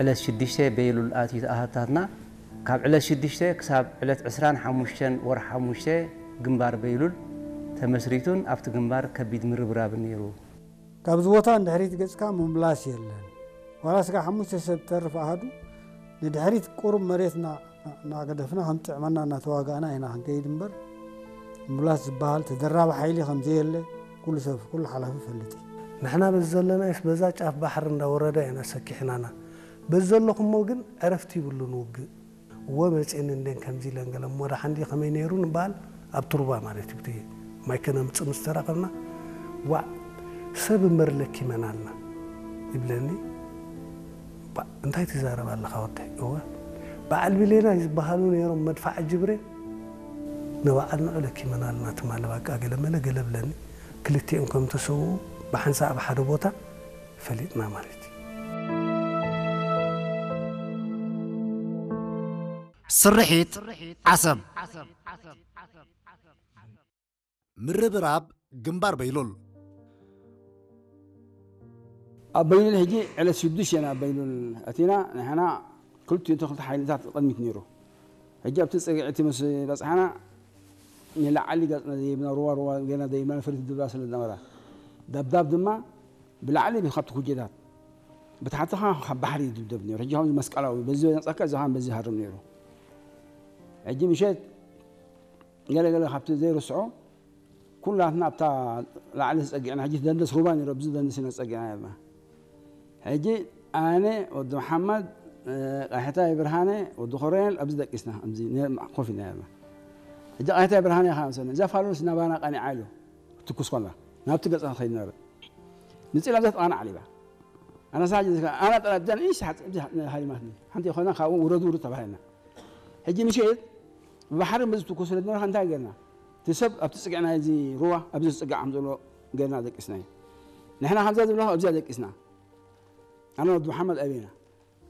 ዕለት ሽዱሽተ በይሉል ኣትዩ ተኣታትና። ካብ ዕለት ሽዱሽተ ክሳብ ዕለት ዕስራን ሓሙሽተን ወርሒ ሓሙሽተ ግንባር በይሉል ተመስሪቱን ኣብቲ ግንባር ከቢድ ምርብራብ ነይሩ። ካብዚ ቦታ ንድሕሪት ገጽካ ምምላስ የለን። ዋላ ስጋ ሓሙሽተ ሰብ ተርፍ ኣሃዱ ንድሕሪት ቁሩብ መሬት ና-፣ ና-፣ እናገደፍና ከም ጥዕመና እናተዋጋእና ኢና ክንከይድ እምበር፣ ምምላስ ዝበሃል ተደራቢ ሓይሊ ከም ዘየለ ኩሉ ሰብ፣ ኩሉ ሓላፊ ይፈልጥ እዩ። ንሕና በዚ ዘለናዮስ በዛ ጫፍ ባሕሪ እንዳወረዳ ኢና ሰኪሕናና። በዚ ዘለኹሞ ግን ዕረፍቲ ይብሉን ውግእ። እወ መፅየኒ እንዴን ከምዚ ኢለን ገለ እሞ ደሓን ድዩ ከመይ ነይሩ ንበሃል ኣብ ቱርባ ማለት እዩ። ብቲ ማይ ከነምፅእ ምስ ተራኸብና፣ "ዋዕ ሰብ እምበር ለኪመና ኣልና" ይብለኒ። "ባ፣ እንታይ ትዛረብ ኣለኻ ወደይ?" "እወ በዓል ብሌናይ ዝበሃሉ ነይሮም መድፋዕ ጅብሬ ንበዓል ንዑ ለኪመና ኣልና ትማሊ ባቃ" ገለ መለ ገለ ብለኒ። ክልቲኦም ከም ተሰውኡ ብሓንሳእ ኣብ ሓደ ቦታ ፈሊጥና ማለት እዩ። ስርሒት ዓሰብ። ምርብራብ ግንባር በይሉል። ኣብ በይሉል ሕጂ ዕለት ሽዱሽተ ኢና ኣብ በይሉል ኣቲና። ንሕና ክልቲኡ ተኽልቲ ሓይልታት ቅድሚት ነይሩ። ሕጂ ኣብቲ ጽግዒ እቲ ምስ በጽሓና ንላዕሊ ገጽና ደይብና፣ ሩባ ሩባ ገና ደይብና፣ ነፈርቲ ድብዳ ስለ ዝነበራ፣ ደብዳብ ድማ ብላዕሊ ካብቲ ኩጀታት፣ ብታሕቲ ኸዓ ካብ ባሕሪ ይድብደብ ነይሩ። ሕጂ ከምዚ መስቀላዊ፣ በዚ ነጸካ፣ እዚ ኸዓ በዚ ይሃርም ነይሩ። ሕጂ ምሸት ገለ ገለ ካብቲ ዘይርስዖ፣ ኩላትና ኣብታ ላዕሊ ተጸጊዕና፣ ሕጂ ደንደስ ሩባ ነይሩ፣ ኣብዚ ደንደስ ኢና ተጸጊዕና ነርና። ሕጂ ኣነ፣ ወዲ መሓመድ፣ እ፣ ቃሕታይ ብርሃነ፣ ወዲ ኮረኔል ኣብዚ ደቂስና፣ ኣብዚ ነ-፣ ኮፍ ኢልና ነርና። ሕጂ ቃሕታይ ብርሃነ ኢኻ መሰለኒ፣ እዛ ፋሉስ ናባና ቀኒዓ ኢሉ ክትትኩስ ከላ፣ ናብቲ ገጽና ትኸይድ ነበረ። ንጽል ኣብዛ ጥቓና ዓሊባ። ኣነ ሳጅ ዝካ-፣ ኣነ ጥራ ብዛን ኢሽ ሓጽ-፣ እዚ ሓ-፣ ሃሪማትኒ። ሓንቲ ኮይና ካብኡ ውረዱ ውረዱ ተባሂልና። ሕጂ ምሸት ብባሕሪ ምስ ትኩስ ስለ ዝነበረ እንታይ ገርና? እቲ ሰብ ኣብቲ ጽግዕና እዚ ሩባ ኣብዚ ዝጽጋዕ ከም ዘሎ ገርና ደቂስና እዩ። ንሕና ከምዛ ዝብላ ኣብዚኣ ደቂስና። ኣነ ወዲ መሓመድ ኣቤና።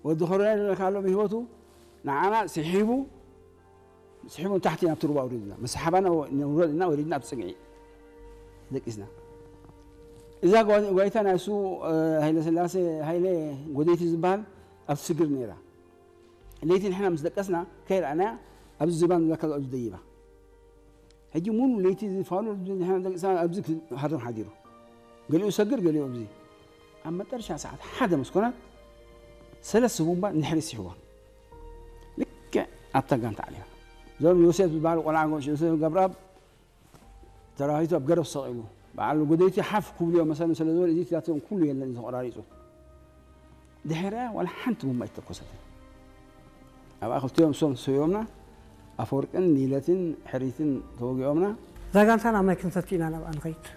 ወዲ ኮረኔል ዝብለካ ኣሎ ብህይወቱ ንዓና ስሒቡ፣ ስሒቡ ንታሕቲ ናብቲ ሩባ ኣውሪድና። ምስ ሰሓባና ወ-፣ ንውረድ እና ወሪድና ኣብ ጽግዒ ደቂስና። እዛ ጓ-፣ ጓይታ ናይ እሱ፣ እ፣ ሃይለ ስላሴ ሃይለ ጎደይቲ ዝበሃል ኣብ ስግር ነይራ። ለይቲ ንሕና ምስ ደቀስና ከይረኣናያ ኣብዚ ዝባን ዝብለካ ኣብዚ ደይባ። ሕጂ ሙሉ ለይቲ ዝፋሉ ንሕና ደቂስና ኣብዚ ክሃርም ሓዲሩ። ገሊኡ ሰግር፣ ገሊኡ ኣብዚ። ኣብ መጠረሻ ሰዓት ሓደ ምስ ኮነት ሰለስተ ቡምባ ንድሕሪት ስሒቦም። ልክዕ ኣብታ ጋንታ ዓሊባ። እዞም ዮሴፍ ዝበሃሉ ቆልዓ ጎሽ ዮሴፍ ገብረኣብ ተራኺቱ ኣብ ገረብ ሰቒሉ። በዓል ጎደይቲ ሓፍ ክብልዮ መሰሉ ስለ ዝበለ እዚ ቲያትሮም ኩሉ የለን እዩ ተቆራሪጹ። ድሕሪኣ ዋላ ሓንቲ ቡምባ ኣይተኮሰትን። ኣብኣ ክልቲኦም እሶም ሰብዮምና፣ ኣፈወርቅን ኒለትን ሕሪትን ተወጊኦምና። እዛ ጋንታ ናብ ማይ ክንሰቲ ኢና ናብኣ ንኸይድ።